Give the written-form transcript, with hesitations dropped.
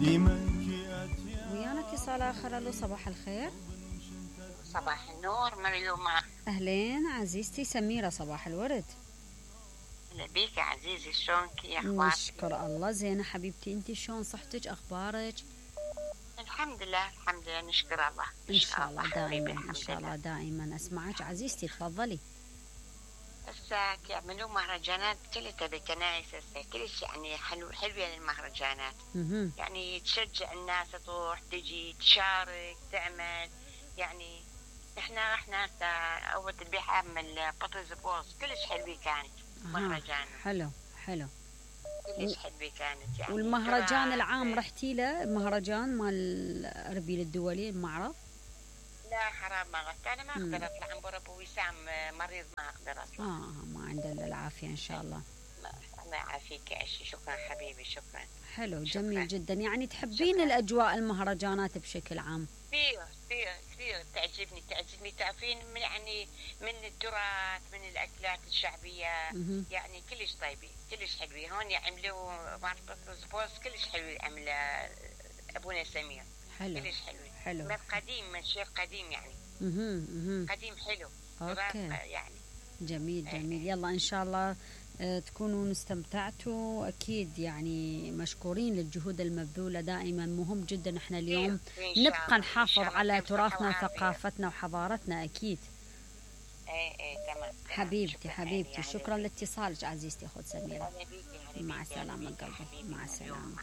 ويانا اتصال آخر. ألو صباح الخير. صباح النور مريومة. أهلين عزيزتي سميرة، صباح الورد. هلا بيك يا عزيزي، شلونك يا أخبارك؟ نشكر الله زينة حبيبتي، انتي شلون صحتك أخبارك؟ الحمد لله الحمد لله نشكر الله. إن شاء الله دائما إن شاء الله دائما. أسمعك عزيزتي تفضلي. هسه يعملوا مهرجانات كلها بالكنائس هسه كلش يعني حلوة المهرجانات. يعني تشجع الناس تروح تجي تشارك تعمل. يعني احنا رحنا هسه اول تذبيحة من بطرز بوز كلش حلوة كانت. مهرجان حلو كلش حلوة كانت يعني. والمهرجان العام رحتي له؟ مهرجان مال أربيل الدولي المعرض؟ لا حرام ما رحت، انا ما اقدر اطلع عن ابو وسام مريض، ما اقدر اطلع. ما عنده الا العافيه ان شاء الله. الله يعافيك يا عشي. شكرا حبيبي شكرا. حلو شكرا. جميل جدا. يعني تحبين شكرا. الاجواء المهرجانات بشكل عام؟ كثير تعجبني تعرفين من يعني من التراث من الاكلات الشعبيه. يعني كلش طيبين كلش حلوين. هون يعملوا ماركت بوز كلش حلو عمله ابونا سمير. حلو كلش حلو من قديم من شيء قديم يعني. قديم حلو. اوكي يعني جميل. يلا ان شاء الله تكونوا استمتعتوا اكيد. يعني مشكورين للجهود المبذوله دائما. مهم جدا احنا اليوم نبقى نحافظ على تراثنا وثقافتنا وحضارتنا اكيد. تمام حبيبتي شكرا لاتصالك عزيزتي اخت سميره. مع السلامه قلبي. مع السلامه.